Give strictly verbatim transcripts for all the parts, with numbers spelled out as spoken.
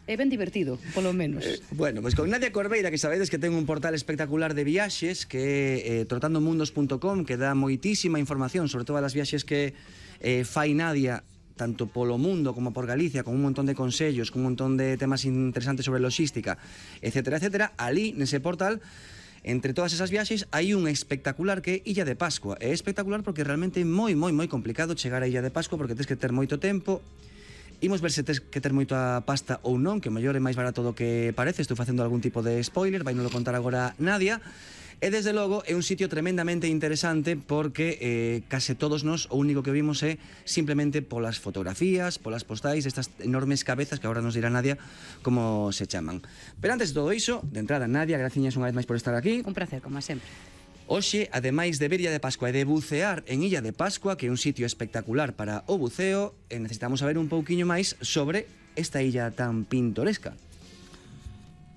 É ben divertido, polo menos. Eh, bueno, pois pues con Nadia Corbeira, que sabedes que ten un portal espectacular de viaxes, que é eh, trotando mundos punto com, que dá moitísima información sobre todas as viaxes que eh, fai Nadia, tanto polo mundo como por Galicia, con un montón de consellos, con un montón de temas interesantes sobre logística, etcétera, etcétera. Ali, nese portal, entre todas esas viaxes, hai un espectacular que é Illa de Pascua. É espectacular porque realmente é moi, moi, moi complicado chegar a Illa de Pascua, porque tens que ter moito tempo. Imos ver se tes que ter moita pasta ou non, que o mellor é máis barato do que parece. Estou facendo algún tipo de spoiler, vai non lo contar agora Nadia. E desde logo é un sitio tremendamente interesante porque eh, case todos nós o único que vimos é simplemente polas fotografías, polas postais, estas enormes cabezas que agora nos dirá Nadia como se chaman. Pero antes de todo iso, de entrada, Nadia, graciñas unha vez máis por estar aquí. Un placer, como sempre. Hoxe, ademais de ver Illa de Pascua e de bucear en Illa de Pascua, que é un sitio espectacular para o buceo, necesitamos saber un pouquiño máis sobre esta illa tan pintoresca.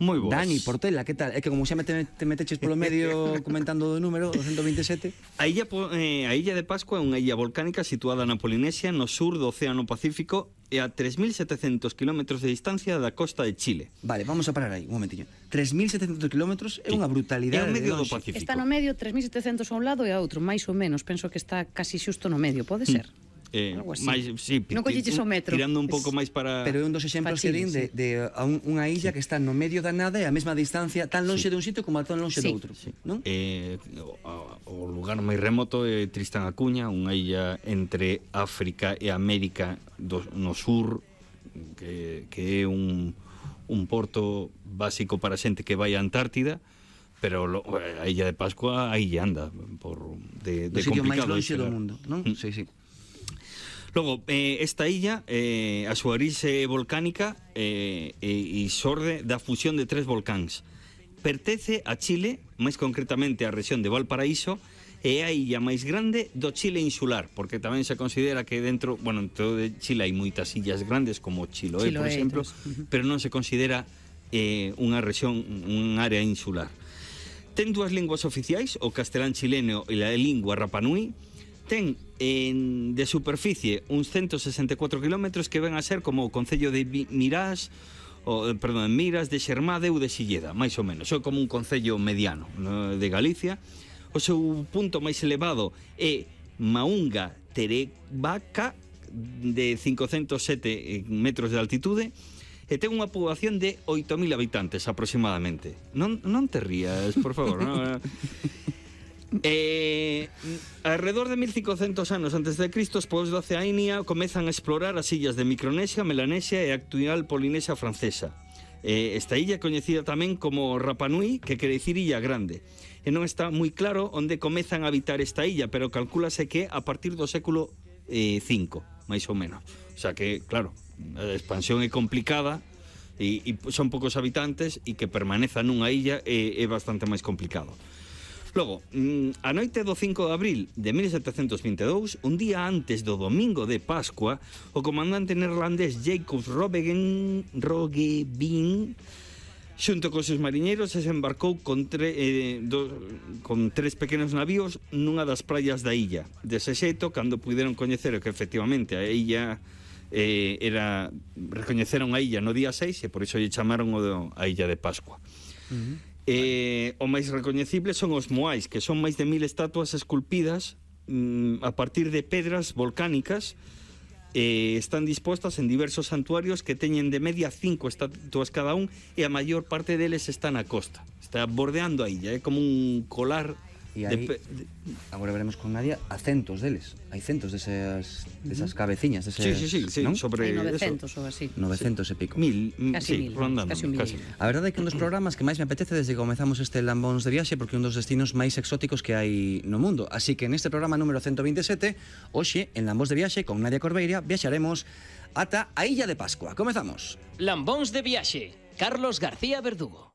Moi boas. Dani Portela, que tal? É que como xa me te, te meteches polo medio comentando o número, o ciento veinte e sete. A illa, eh, a illa de Pascua é unha illa volcánica situada na Polinesia, no sur do Océano Pacífico, e a tres mil setecentos kilómetros de distancia da costa de Chile. Vale, vamos a parar aí, un momentinho. tres mil setecentos kilómetros é unha É brutalidade. o medio de do longe. Pacífico. Está no medio, tres mil setecentos a un lado e a outro, máis ou menos. Penso que está casi xusto no medio, pode ser? Mm. Eh, Algo así. máis, sí, Non colleches o metro. Tirando un pouco Es- máis para... Pero é un dos exemplos que din de, de a un, unha illa que está no medio da nada e a mesma distancia, tan lonxe Sí. dun sitio como a tan lonxe Sí. do outro, non? Eh, o, o lugar máis remoto é Tristán a Cunha, unha illa entre África e América do, no sur, que, que é un, un porto básico para xente que vai a Antártida, pero lo, a Illa de Pascua aí anda por de, de Do sitio máis complicado lonxe do chegar. mundo, non? Mm. Sí, sí. Logo, eh, esta illa, eh, a súa orixe volcánica eh, e, e xorde da fusión de tres volcáns. Pertence a Chile, máis concretamente a rexión de Valparaíso, e é a illa máis grande do Chile insular, porque tamén se considera que dentro, bueno, en todo de Chile hai moitas illas grandes, como Chiloé, por Chiloé, exemplo, uh-huh. pero non se considera eh, unha rexión, un área insular. Ten dúas linguas oficiais, o castelán chileno e a lingua Rapanui. Ten en, de superficie uns ciento sesenta e catro kilómetros que ven a ser como o concello de Mirás, o, perdón, Miras, de Xermade ou de Silleda, máis ou menos. É como un concello mediano, no, de Galicia. O seu punto máis elevado é Maunga Terevaca, de cincocentos sete metros de altitude, e ten unha poboación de oito mil habitantes aproximadamente. Non, non te rías, por favor. Non? Eh, alrededor de mil cincocentos anos antes de Cristo, os povos da Oceanía comezan a explorar as illas de Micronesia, Melanesia e a actual Polinesia francesa. Eh, esta illa é coñecida tamén como Rapa Nui, que quere dicir illa grande. E non está moi claro onde comezan a habitar esta illa, pero calcúlase que a partir do século eh, cinco, máis ou menos. O sea que, claro, a expansión é complicada e, e son poucos habitantes e que permaneza nunha illa é, é bastante máis complicado. Logo, a noite do cinco de abril de mil setecentos vinte e dous, un día antes do domingo de Pascua, o comandante neerlandés Jacob Roggeveen Roggeveen xunto cos seus mariñeiros se embarcou con, tre, eh, do, con tres pequenos navíos nunha das praias da illa. Dese xeito, cando puderon coñecer que efectivamente a illa eh, era, recoñeceron a illa no día seis e por iso lle chamaron o, a Illa de Pascua. Uh-huh. Eh, o máis recoñecible son os moais, que son máis de mil estatuas esculpidas mm, a partir de pedras volcánicas. Eh, están dispostas en diversos santuarios que teñen de media cinco estatuas cada un, e a maior parte deles está na costa, está bordeando a illa, é como un colar. E aí, de, de... agora veremos con Nadia, a centos deles. Hai centos desas, desas cabeciñas, deses, sí, sí, sí, sí, non? sobre Hai novecentos ou así. novecentos sí. e pico. Mil, casi sí, mil, rondando, casi un casi. mil. A verdade é que un dos programas que máis me apetece desde que comezamos este Lambóns de Viaxe, porque é un dos destinos máis exóticos que hai no mundo. Así que neste programa número ciento veinte e sete, hoxe, en Lambóns de Viaxe, con Nadia Corbeira, viaxaremos ata a Illa de Pascua. Comezamos. Lambóns de Viaxe, Carlos García Verdugo.